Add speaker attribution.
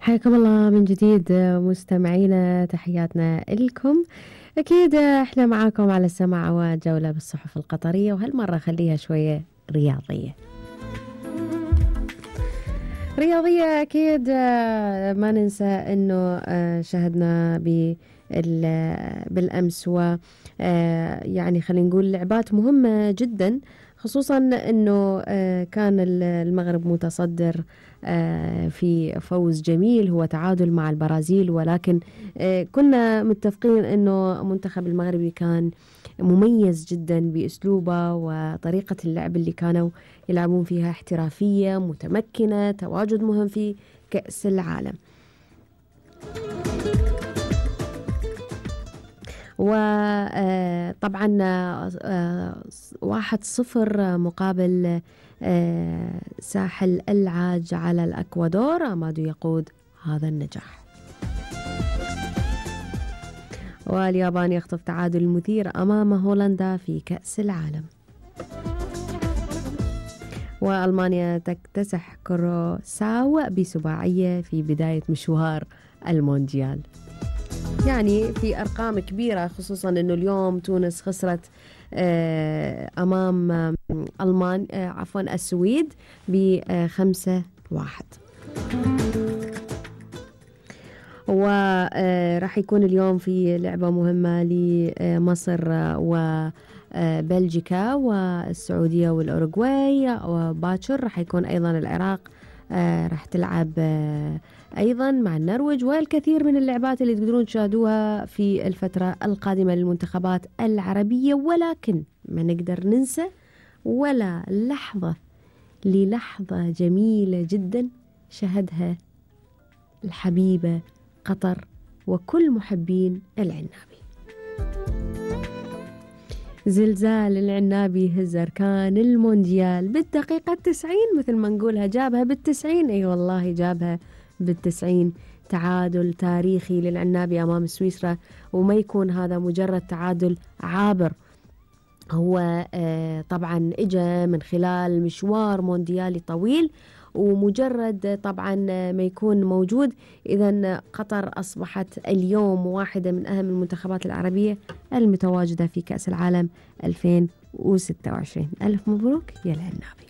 Speaker 1: حياكم الله من جديد مستمعينا، تحياتنا لكم. أكيد إحنا معاكم على السمع وجولة بالصحف القطرية، وهالمرة خليها شوية رياضية. أكيد ما ننسى أنه شاهدنا بالأمس و يعني خلينا نقول لعبات مهمة جدا، خصوصا أنه كان المغرب متصدر في فوز جميل هو تعادل مع البرازيل، ولكن كنا متفقين أنه منتخب المغربي كان مميز جدا بأسلوبه وطريقة اللعب اللي كانوا يلعبون فيها، احترافية متمكنة، تواجد مهم في كأس العالم. وطبعا 1-0 مقابل ساحل العاج على الأكوادور، أمادو يقود هذا النجاح. واليابان يخطف تعادل مثير أمام هولندا في كأس العالم. وألمانيا تكتسح كروساو بسباعية في بداية مشوار المونديال. يعني في أرقام كبيرة، خصوصا أنه اليوم تونس خسرت أمام السويد ب5-1. وراح يكون اليوم في لعبة مهمة لمصر وبلجيكا والسعودية والأوروغواي، وباكر راح يكون أيضا العراق راح تلعب أيضا مع النرويج، والكثير من اللعبات اللي تقدرون تشاهدوها في الفترة القادمة للمنتخبات العربية. ولكن ما نقدر ننسى ولا لحظة جميلة جدا شهدها الحبيبة قطر وكل محبين العنابي. زلزال العنابي هز أركان المونديال بالدقيقة 90، مثل ما نقولها جابها بال90. أي والله جابها بال90. تعادل تاريخي للعنابي أمام سويسرا، وما يكون هذا مجرد تعادل عابر، هو طبعا إجا من خلال مشوار مونديالي طويل، ومجرد طبعا ما يكون موجود. إذن قطر أصبحت اليوم واحدة من أهم المنتخبات العربية المتواجدة في كأس العالم 2026. ألف مبروك يا العنابي.